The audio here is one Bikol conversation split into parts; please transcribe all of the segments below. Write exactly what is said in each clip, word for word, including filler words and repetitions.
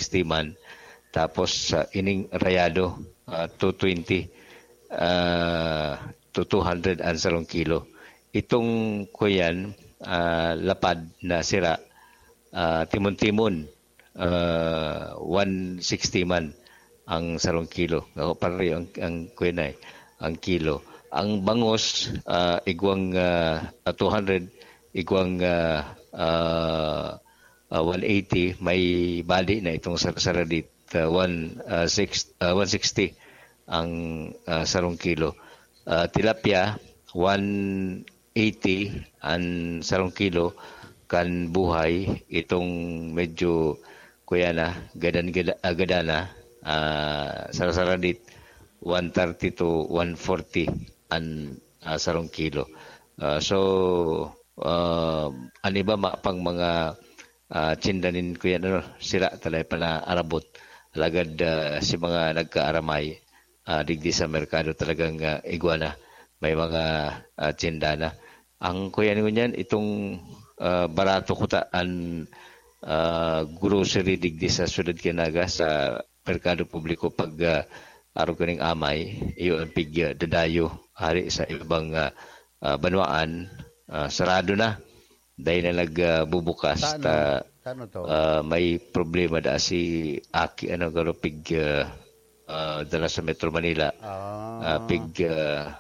sixty man. Tapos, ah, ining rayado, ah, two twenty, ah, to two hundred ang sarong kilo. Itong kuyan, ah, lapad na sira, ah, timon-timon, ah, one sixty man ang sarong kilo. Ako, pare, ang, ang kuyan ay, ang kilo. Ang bangus, ah, igwang, ah, ah, two hundred, igwang, ah, ah, ah, one eighty, may bali na itong sar-, saradit, ah, one, ah, six, ah, one sixty ang, ah, sarong kilo. Ah, tilapia, one eighty ang sarong kilo. Kan buhay, itong medyo, kuya na, gadan-, gada-, ah, gadan na, ah, sar-, saradit, one thirty to one forty ang, ah, sarong kilo. Ah, so, ah, an iba ma-, pang mga, ah, tsinda nin kuya, ano, sira talaga pala arabot. Alagad, ah, si mga nagkaaramay, ah, digdi sa merkado talagang, ah, igwa na. May mga, ah, tsinda na. Ang kuya ngunyan, itong, ah, barato kuta an, ah, grocery digdi sa syudad kan Naga, sa merkado publiko pag, ah, arog kaning amay, iyo ang pig, ah, dadayo hari sa ibang, ah, ah, banwaan, ah, sarado na. Dai na nag, ah, bubukas Tano? ta, Tano to? ah, may problema da si Aki, ano, garo pig, ah, ah, dala sa Metro Manila. Ah. Ah, pig, ah,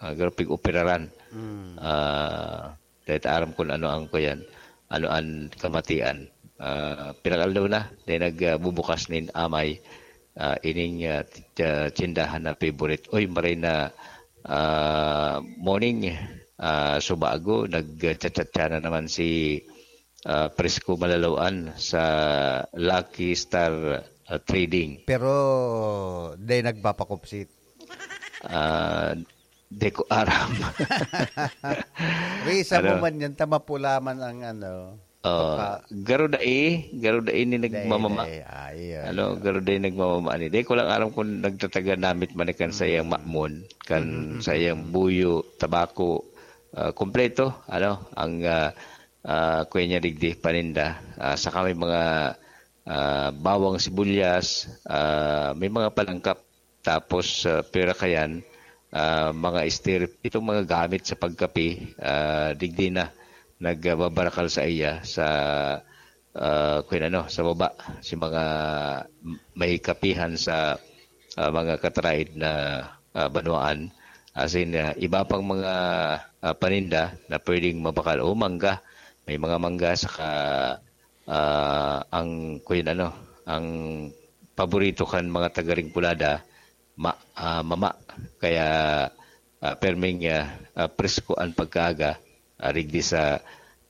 ah, garo pig operaran. Mm. Ah, dai ta aram kung ano ang kuyan, ano ang kamatian. Ah, pinakaaldaw na, dai nag, ah, bubukas nin amay, ah, ining, ah, t-, ah, tsindahan na favorite. Oy, maray na, ah, morning, ah, Subago, nagchat-chat na naman si, ah, Prisco Malalawan sa Lucky Star, ah, Trading. Pero dai nagpapakupsit. Ah, di ko aram. Risa mo Ano? man yan, ta mapula man ang ano. Oh, Papa. Garo dai, garo dai ni Dai, nagmamama. dai. Ah, iyo, Ano, iyo. Garo dai nagmamama ni. Dai ko lang aram kung nagtataga namit man kan sa iyang Mm. mamon, kan Mm, mm, sa mm, iyang mm. buyo, tabako, ah, kompleto, ano, ang, ah, ah, kuya niya digdi, paninda. Ah, saka may mga, ah, bawang sibuyas, ah, may mga palangkap. Tapos, ah, pira kayan, ah, mga stereo, itong mga gamit sa pagkape, ah, digdi na nagbabarakal sa iya sa, ah, kung ano, sa baba, si mga may kapihan sa, ah, mga kataraid na, ah, banwaan. As in, ah, iba pang mga, ah, paninda na pwedeng mabakal. O, mangga. May mga mangga, saka, ah, ang, kung ano, ang paborito kan mga taga Rincolada, ma-, ah, mama. Kaya, ah, perming, ah, ah, presko ang pagkaaga, ah, rigdi sa,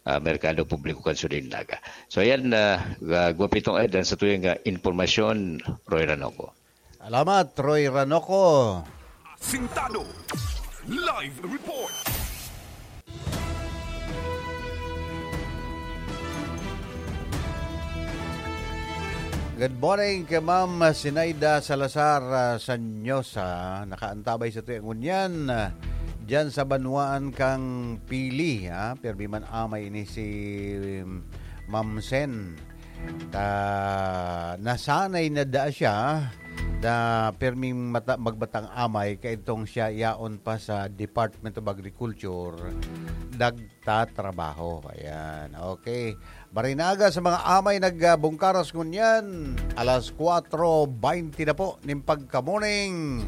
ah, merkado publiko kan Sudin Naga. So, ayan, ah, ah, Guapitong Ed, ang sa tuyang, ah, impormasyon, Roy Ranoco. Salamat, Roy Ranoco. Asintado. Live report. Good morning kay Ma'am Sinaida Salazar, ah, Sanyosa. Nakaantabay sa tuyang ngunyan, ah, dyan sa banwaan kang Pili, ha? Pirmi man amay ini si, um, Ma'am Sen. Ta, nasanay na daa siya na pirming mata-, magbatang amay, kaidtong siya yaon pa sa Department of Agriculture, nagtatrabaho. Ayan, okay. Marinaga sa mga amay nagbungkaras ngunyan, alas kwatro baynte na po nin pagka-morning.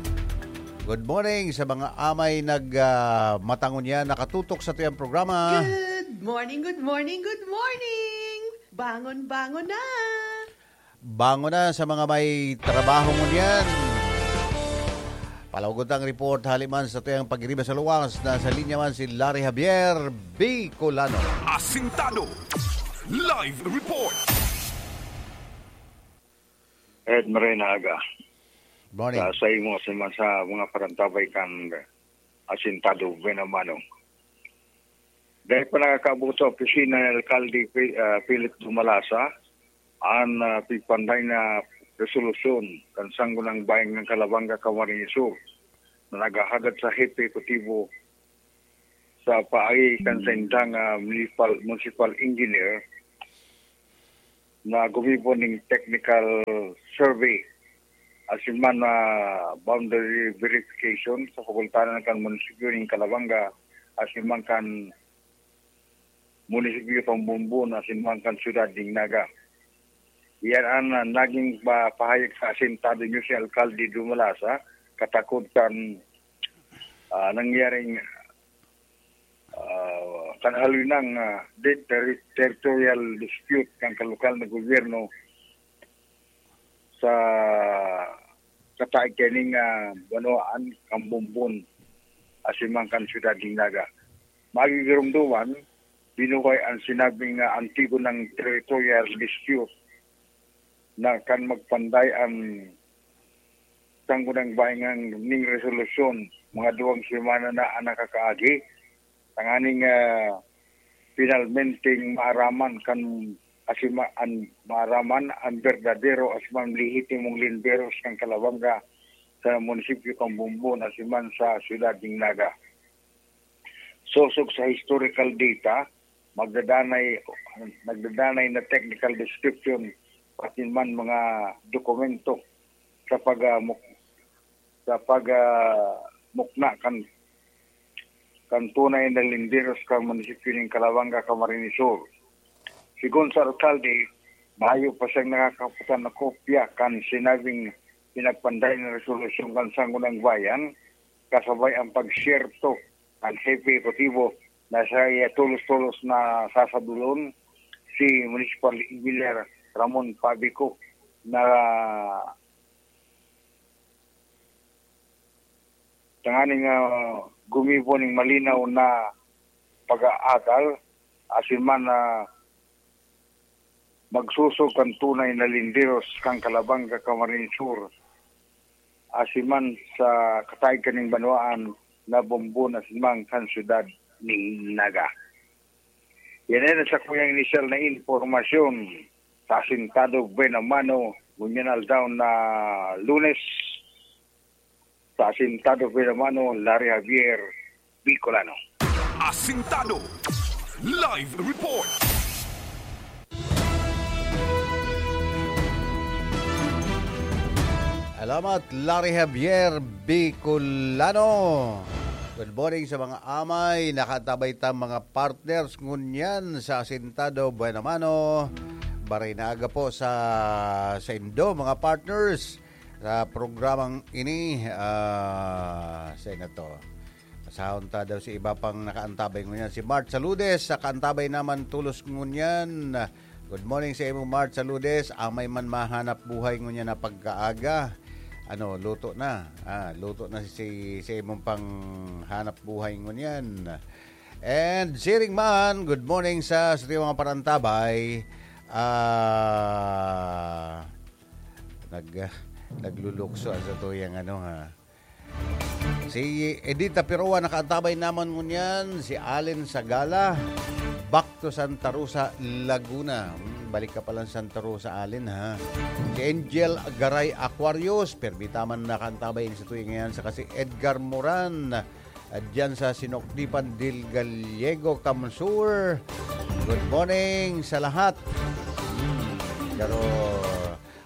Good morning sa mga amay nag, ah, mata ngunyan, nakatutok sa tuyang programa. Good morning, good morning, good morning! Bangon, bangon na! Bangon na sa mga may trabaho ngunyan. Palagot ang report hali man sa tuyang pagiriba sa luwas. Nasa linya man si Larry Javier Bicolano. Asintado. Live report. Ed Marina Aga. Morning. Sa, sa imo, sa, sa mga parantabay kan Asintado, buena mano. Dahil pa nakakabuto ang opisina ni Alkalde Pi-, ah, Philip Dumalasa, an, ah, pigpanday na resolusyon kan Sangguniang Bayan ng Calabanga, Camarines Sur, na naghahagad sa hepe ekutibo sa paagi kan Mm. saindang, ah, municipal, municipal engineer na gumibo ning technical survey asin man na boundary verification sa pakultanan kan munisipyo ning Calabanga asin man kan munisipyo kan Bombon asin man kan siyudad ning Naga. Iyan an, ah, naging pa-, pahayag sa asintado niyo si Alkalde Dumalasa, katakod kan, ah, nangyaring, ah, kan halinang, ah, di-, terri-, territorial dispute kan kalokal na gobyerno sa kataig kaning, ah, banwaan kan Bombon asin man kan siyudad ning Naga. Magigiromdoman, binuhay an sinabing, ah, antigo ng territorial dispute na kan magpanday an sanggunang bayan ning resolusyon mga duwang semana na an nakakaagi, tanganing, ah, finalmenteng maaraman kan asima-, an, maaraman an berdadero asin man lehitimong linderos kan Calabanga sa munisipyo kan Bombon asin man sa siyudad ning Naga. Sosog sa historical data, magdadanay, nagdadanay na technical description, pati man mga dokumento sa pag, ah, muk-, sa pag, ah, mukna kan, kan tunay na linderos kan munisipyo nin Calabanga, Camarines Sur. Sigon sa alkalde, mayo pa siyang nakakaputan na kopya kan sinabing pinagpanday na resolusyon kan Sangguniang Bayan, kasabay ang pagsyerto kan hepe ehekutibo na siya tolos-tolos na sasadolon, si Municipal Engineer Ramon Pabico, na tanganing, ah, gumibo ning malinaw na pag-aatal, asin man na magsusog kan tunay na linderos kan Calabanga, Camarines Sur, asin man sa kataig kaning banwaan na Bombon asin man kan siyudad nin Naga. Yan ay sa kuyang inisyal na impormasyon sa Asintado Buena Mano, ngunyan aldaw na Lunes, sa Asintado Buena Mano, Larry Javier, Bicolano. Asintado Live Report. Salamat, Larry Javier Bicolano. Good morning sa mga amay. Nakatabay ta mga partners ngunyan sa Asintado Buena Mano. Maray na aga po sa, sa indo, mga partners, sa programang ini. Ah, sa ina to. Pasahon ta daw si iba pang nakaantabay ngunyan. Si Mart Saludes, sa kaantabay naman tulos ngunyan. Good morning sa imo, Mart Saludes. Amay man mahanap buhay ngunyan na pagkaaga. Ano, luto na. Ah, luto na si, si imong pang hanap buhay ngunyan. And siring man, good morning sa, sa mga parantabay. Ah, nag, naglulukso ang sa tuyang ano, ha. Si Edita Piroa nakaantabay naman ngunyan, si Allen Sagala, back to Santa Rosa, Laguna. Hmm, balik ka palang Santa Rosa, Allen, ha. Si Angel Garay Aquarius, permi ta man nakaantabay sa tuwing ngayon, saka si Edgar Moran, ah, diyan sa Sinokdipan del Gallego, Camsur. Good morning sa lahat. Hmm, pero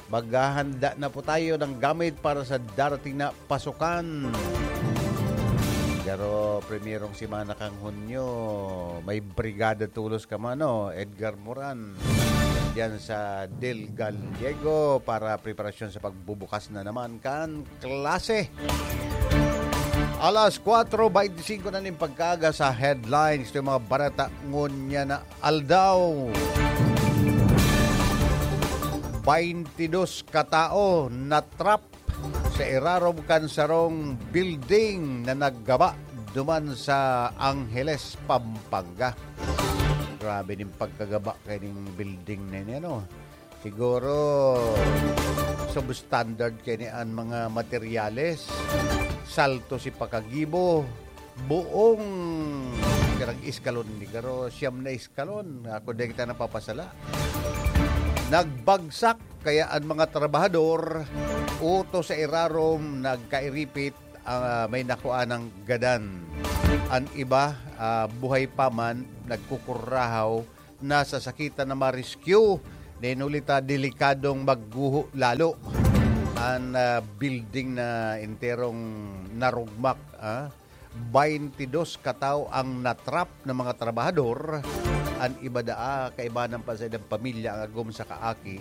maghahanda na po tayo ng gamit para sa darating na pasukan. Pero primerong semana kan Hunyo, may brigada tulos ka man, no? Edgar Moran. Diyan sa Del Gallego para preparasyon sa pagbubukas na naman kan klase. Alas kwatro beintisinko na nin pagkaaga sa headlines. Ito yung mga bareta ngunyan na aldaw. Baintidos katao na-trap sa irarom kan sarong building na naggaba duman sa Angeles, Pampanga. Grabe nin pagkagaba kaning building na ini, ano? Siguro, substandard kaini an mga materyales. Salto si pakagibo. Buong pirag eskalon ni garo, siyam na eskalon. Ako, di kita napapasala. Nagbagsak, kaya an mga trabahador, uto sa irarom, nagkairipit, ah, may nakuha ng gadan. An iba, ah, buhay pa man, nagkukurahaw, nasasakitan na ma-rescue. Nin huli ta delikadong magguho lalo an, ah, building na enterong narugmak, ah. Baynte dos katawo ang natrap na mga trabahador. An iba daa, kaibanan pa sa ilang pamilya ang agom sa kaaki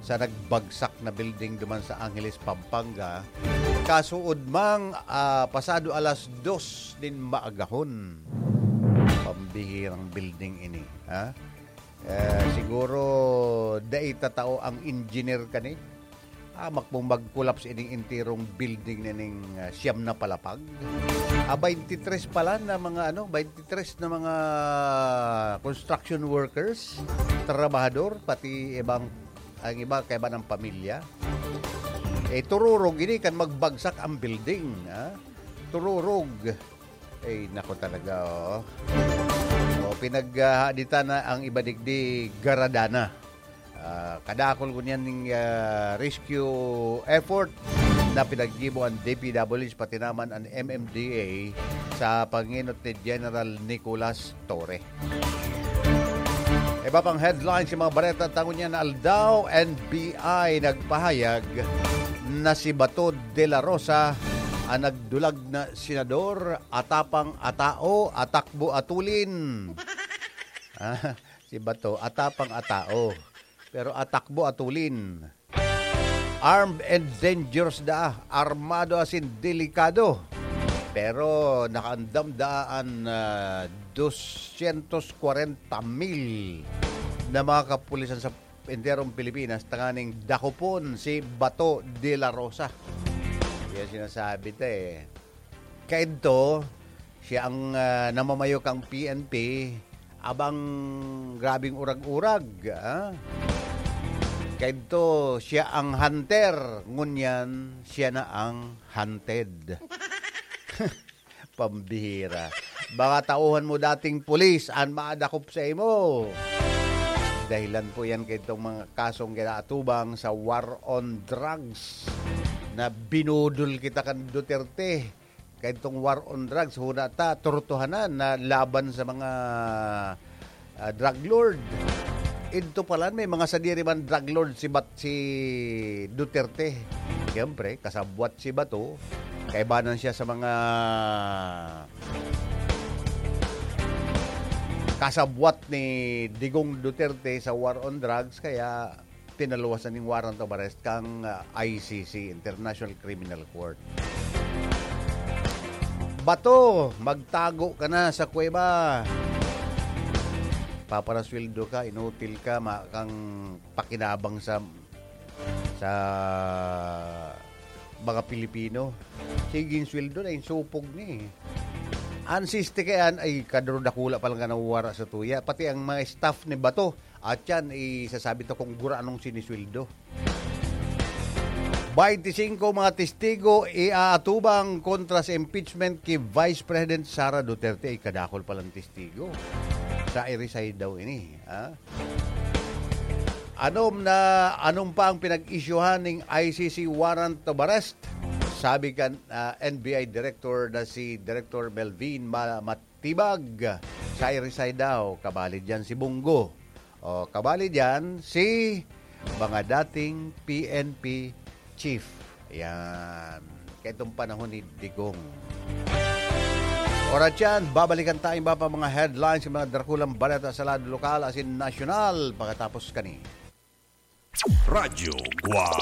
sa nagbagsak na building duman sa Angeles, Pampanga. Kasuod mang, ah, pasado alas dos nin maagahon. Pambihirang building ini, ha? Eh, siguro, dai tatao ang engineer kani. Hamak pong mag-collapse ining enterong building na ning, ah, siyam na palapag. Ah, baynte tres pala na mga, ano, baynte tres na mga construction workers, trabahador, pati ibang, ang iba, kaiba ng pamilya. Eh, tururog ini kan magbagsak ang building, ha? Tururog. Ay, nako talaga, oh. Oh, pinaghahaditan na ang iba digdi, garadana. Ah, kadakol ngunyan ning, ah, rescue effort na pinaggibo an D P W H, pati naman an M M D A sa pangenot ni General Nicolas Torre. Iba pang headlines sa mga bareta ta ngunyan na aldaw, N B I nagpahayag na si Bato de la Rosa ang nagdulag na senador, atapang atao, atakbo atulin. Ah, si Bato, atapang atao. Pero atakbo atulin. Armed and dangerous daa, armado asin delikado. Pero nakaandam daa an, ah, dosyentos kwarenta mil na mga kapulisan sa enterong Pilipinas tanganing dakopon si Bato de la Rosa. Yan sinasabi ta eh. Kaidto, siya ang, ah, namamayo kang P N P, abang grabing urag-urag, ah. Kaidto, siya ang hunter, ngunyan, siya na ang hunted. Pambihira. Baka tauhan mo dating pulis an maadakop sa imo. Dahilan po yan kaitong mga kasong kinaatubang sa war on drugs na binudol kita kan Duterte. Kaitong war on drugs, huna ta, tortohanan na laban sa mga, ah, drug lord. Idto pala, may mga sadiri man drug lord si Bat-, si Duterte. Siyempre, kasabwat si Bato. Kaibanan siya sa mga kasabwat ni Digong Duterte sa war on drugs, kaya pinaluwasan ning warrant of arrest kang, ah, I C C, International Criminal Court. Bato, magtago ka na sa kuweba. Paparasweldo ka, inutil ka, ma-, kang pakinabang sa, sa mga Pilipino. Sige, sweldo na, insupog ni. An siste kay an, ay, kaduro dakula pa lang ka nawara sa tuya. Pati ang mga staff ni Bato, at yan, isasabi to kung gura anong sinisweldo. Baynte singko mga testigo iaatubang kontra sa impeachment ki Vice President Sara Duterte. Ay, kadakol palang testigo. Sa i-resign daw ini, ha? Anom na, anom pa ang pinag-isyuhan ning I C C warrant of arrest? Sabi kan, ah, N B I Director na si Director Melvin Ma-, Matibag, sa i-resign daw, kabali diyan si Bunggo. O, kabali diyan si mga dating P N P chief. Yan. Kaitong panahon ni Digong. Oras yan, babalikan tayong iba pa mga headlines sa mga drakulang baleta sa lado lokal asin nasyonal pagkatapos kani. Radyo Guwang.